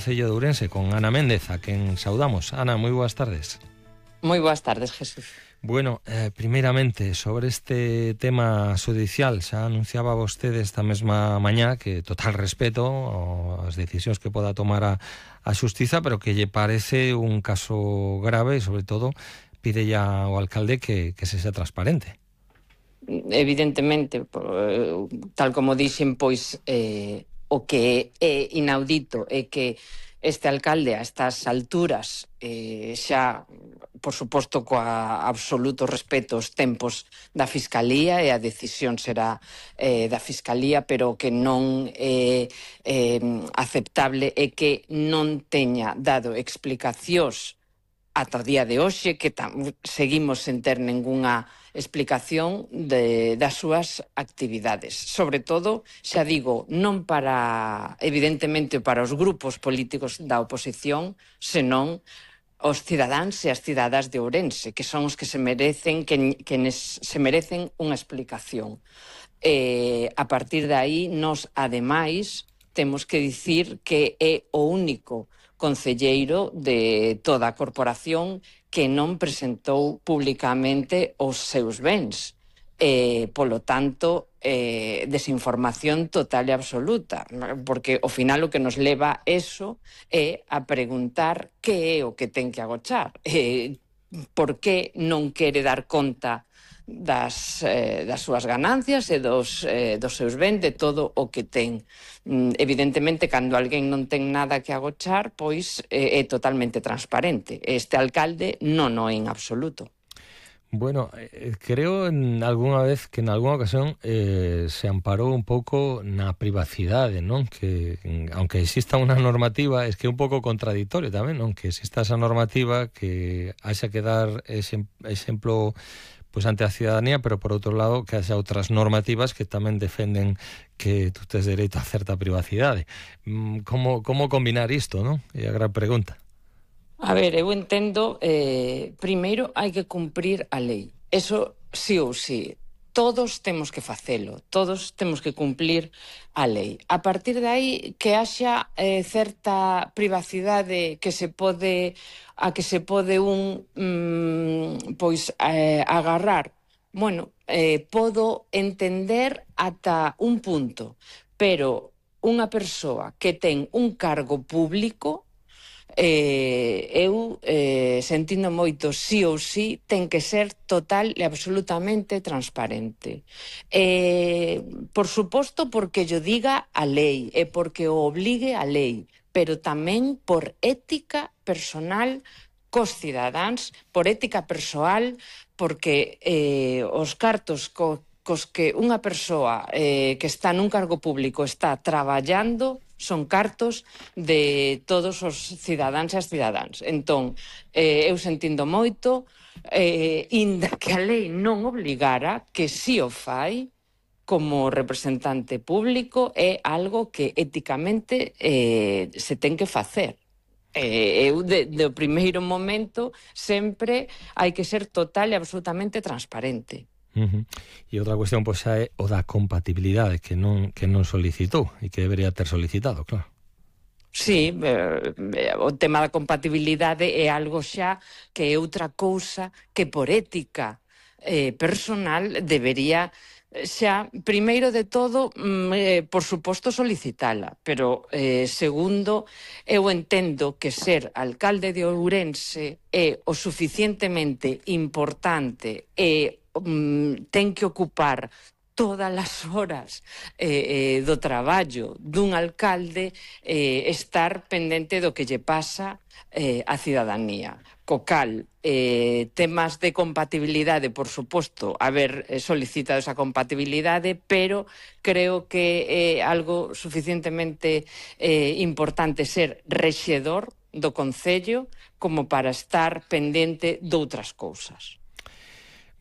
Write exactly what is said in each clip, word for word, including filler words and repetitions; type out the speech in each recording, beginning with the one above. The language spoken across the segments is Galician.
Concello de Ourense con Ana Méndez, a quen saudamos. Ana, moi boas tardes. Moi boas tardes, Jesús. Bueno, eh, primeiramente, sobre este tema judicial, xa anunciaba vostede esta mesma mañá que total respeto as decisións que poda tomar a, a Xustiza, pero que lle parece un caso grave e, sobre todo, pide ya ao alcalde que, que se sea transparente. Evidentemente, tal como dixen, pois eh, o que é inaudito é que este alcalde a estas alturas eh, xa, por suposto, coa absoluto respeto aos tempos da Fiscalía, e a decisión será eh, da Fiscalía, pero que non é eh, aceptable é que non teña dado explicacións ata o día de hoxe, que tam, seguimos sen ter ningunha explicación de, das súas actividades. Sobre todo, xa digo, non para, evidentemente, para os grupos políticos da oposición, senón os cidadáns e as cidadás de Ourense, que son os que se merecen, que, que nes, se merecen unha explicación. Eh, a partir de aí, nos, ademais, temos que dicir que é o único concelleiro de toda a corporación que non presentou públicamente os seus bens. Eh, polo tanto, eh, desinformación total e absoluta, porque ao final o que nos leva eso é a preguntar que é o que ten que agochar, eh, por que non quere dar conta das, eh, das súas ganancias e dos, eh, dos seus bens, de todo o que ten. Mm, evidentemente, cando alguén non ten nada que agochar, pois eh, é totalmente transparente. Este alcalde non o é en absoluto. Bueno, eh, creo en algunha vez que en algunha ocasión eh, se amparou un pouco na privacidade, non? Que aunque exista unha normativa, es que é un pouco contradictorio tamén, non? Que exista esa normativa, que haxa que dar ese exemplo pois ante a cidadanía, pero por outro lado que haxa outras normativas que tamén defenden que tú tes dereito a certa privacidade. Como, como combinar isto, non? É a gran pregunta. A ver, eu entendo, eh, primeiro hai que cumprir a lei. Eso sí ou sí. Todos temos que facelo, todos temos que cumplir a lei. A partir de aí, que haxa eh, certa privacidade que se pode, a que se pode un mm, pois eh, agarrar. Bueno, eh, podo entender ata un punto, pero unha persoa que ten un cargo público, Eh, eu eh, sentindo moito, sí ou sí, ten que ser total e absolutamente transparente. Eh, por suposto, porque yo diga a lei e porque o obligue a lei, pero tamén por ética personal cos cidadáns, por ética persoal, porque eh, os cartos co, cos que unha persoa eh, que está nun cargo público está traballando son cartos de todos os cidadáns e as cidadáns. Entón, eh, eu sentindo moito, eh, inda que a lei non obligara, que si o fai, como representante público, é algo que éticamente eh, se ten que facer. Eh, eu, de, de o primeiro momento, sempre hai que ser total e absolutamente transparente. Uh-huh. E outra cuestión pois xa é o da compatibilidade que non, que non solicitou e que debería ter solicitado, claro. Sí, eh, o tema da compatibilidade é algo xa que é outra cousa que por ética eh, personal debería xa, primeiro de todo, eh, por suposto, solicitala, pero eh, segundo, eu entendo que ser alcalde de Ourense é o suficientemente importante e um, ten que ocupar todas as horas eh, eh, do traballo dun alcalde, eh, estar pendente do que lle pasa eh, á cidadanía. Co cal, eh, temas de compatibilidade, por suposto, haber solicitado esa compatibilidade, pero creo que é algo suficientemente eh, importante ser rexedor do Concello como para estar pendente doutras cousas.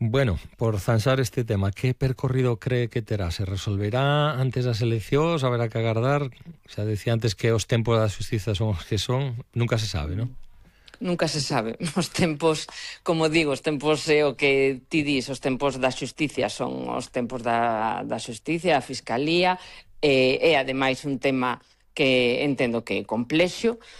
Bueno, por zanxar este tema, que percorrido cree que terá? Se resolverá antes das eleccións? Haberá que agardar? Xa decía antes que os tempos da xustiza son os que son. Nunca se sabe, non? Nunca se sabe. Os tempos, como digo, os tempos é o que ti dis, os tempos da xusticia son os tempos da, da xusticia, a Fiscalía, e, e ademais un tema que entendo que é complexo,